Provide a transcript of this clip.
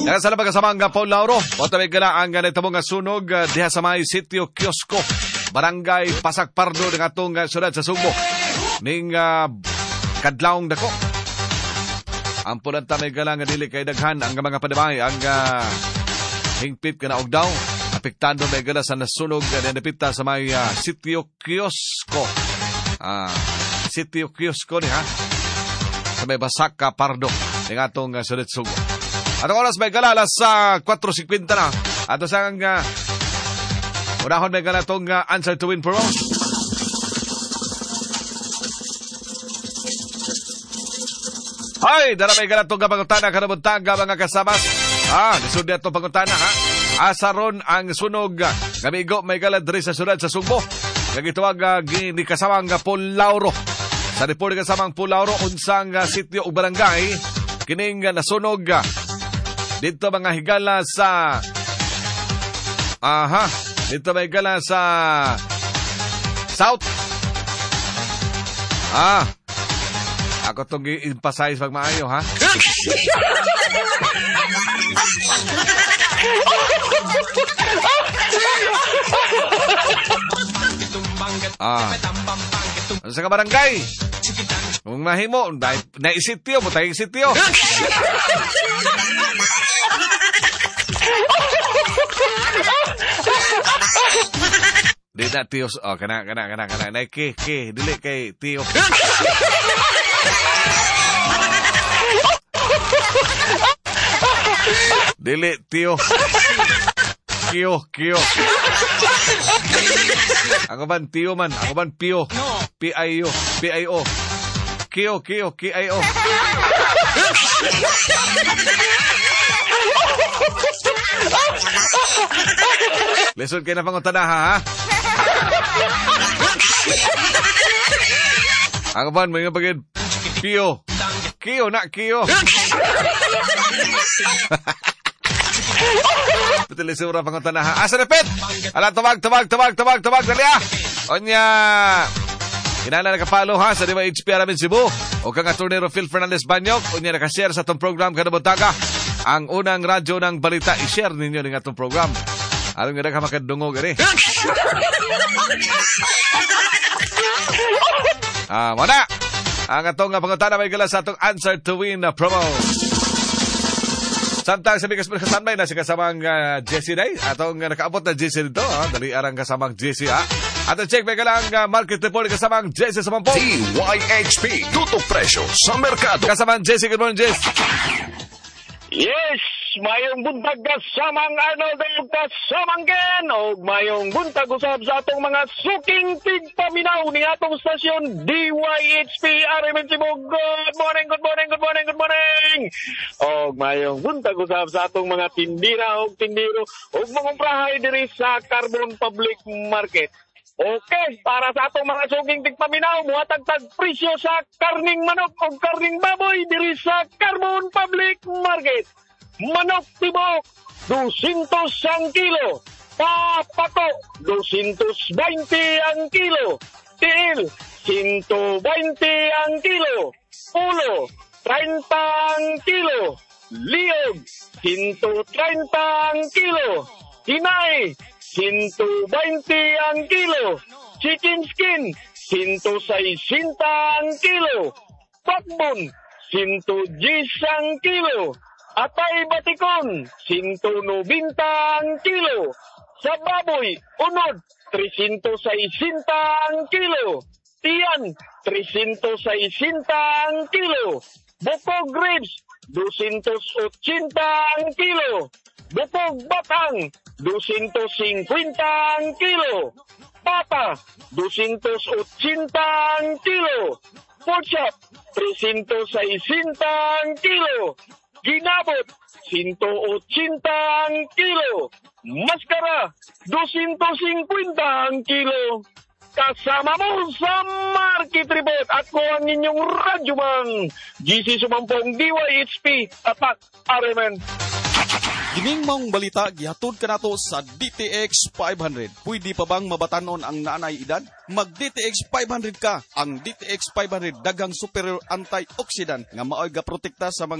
Daghang salamat, kasamang Paul Lauro. Mao may gala ang nahitabo nga sunog diha sa may Sitio Kiosko, Barangay Pasak Pardo ng atong syudad sa Sugbo. Ning kadlawng dako. Ang pulanta may gala nga dili kay daghan ang mga padamay ang hingpit ka na og daw. Apektado may gala sa nasunog na napita sa may Sitio Kiosko. Sitio Kiosko ni ha. Sa may Basak Pardo ng atong syudad Sugbo. Atong oras may gala alas 4:50 na. Ato sa ang unahon may gala itong answer to win promo. Ay, dara may gala itong pangutana kanabuntag mga kasamas. Lisod niya itong pangutana ha. Asaron ang sunog gamigo may gala diri sa syudad sa Sugbo. Gagitawag ni kasamang Paul Lauro. Sa report kasamang Paul Lauro unsang sitio ug barangay kining nasunog dito mga higala sa dito may higala sa South. Ako itong i-emphasize pag maayo, ha? Sa kabarangay? Kung mahimo, naisityo, butay sityo. Di na tiyo. Oh, kana. Nay, ke, dili kay tiyo. Dili, tiyo. Kiyo. Ako man, tiyo man. Ako man, piyo. P-I-O. P-I-O. Kiyo, K-I-O. Lesson kayo na pangutana, ha? Ako man, mga pagin, piyo. Kiyo na, kiyo. Patilisura pangutana, ha? Asa na, Pet? Ala, tawag, dali, ha? Onya, inala nakapalo, ha? Sa Diwa HP Aramin Cebu. O kang Atty. Phil Fernandez Banyok. Onya, nakashare sa itong program kanabuntaga. Ang unang radyo ng balita, i-share ninyo ng atong program. Aron nga ka makadungog, eh. Wala. Ang atong pangutana may gala sa atong answer to win promo. Samtang sa bigas kasanbay na si kasamang Jesse day. Atong nakaabot na Jesse dito. Dali arang kasamang Jesse, ha. Atong check may galang market report kasamang Jesse sa Mampong. DYHP, tutok presyo sa merkado. Kasamang Jesse, good morning, Jesse. Yes, mayong buntag kasamang Arnold og kasamang Ken og mayong buntag usab sa atong mga suking tigpaminaw ni atong stasyon DYHP RMN Cebu. Good morning, good morning, good morning, good morning. Og mayong buntag usab sa atong mga tindira og tindiro og mangumprahay diri sa Carbon Public Market. Okay, para sa atong mga suking tigpaminaw, muhatag tag presyo sa karning manok o karning baboy diri sa Carbon Public Market. Manok tibok, 200 ang kilo. Papato, 220 ang kilo. Tiil, 120 ang kilo. Ulo, 30 ang kilo. Liog, 130 ang kilo. Hinay, 120 ang kilo. Chicken skin, 160 ang kilo. Backbone, 110 ang kilo. Atay batikon, 190 ang kilo. Sa baboy, unod, 360 ang kilo. Tiyan, 360 ang kilo. Bukog ribs, 280 ang kilo. Bukog batang, 250 ang kilo. Pata, 280 ang kilo. Pork chop, 360 ang kilo. Ginabot, 180 ang kilo. Maskara, 250 ang kilo. Kasama mo sa Market Report. Ako ang inyong radyomang GC Sumampong DYHP Tatak RMN. Gining maong balita gihatod kanato sa DTX 500. Pwede pa bang mabatanon ang naanay edad? Mag DTX 500 ka. Ang DTX 500 daghang superior antioxidant nga maoy gaprotekta sa mga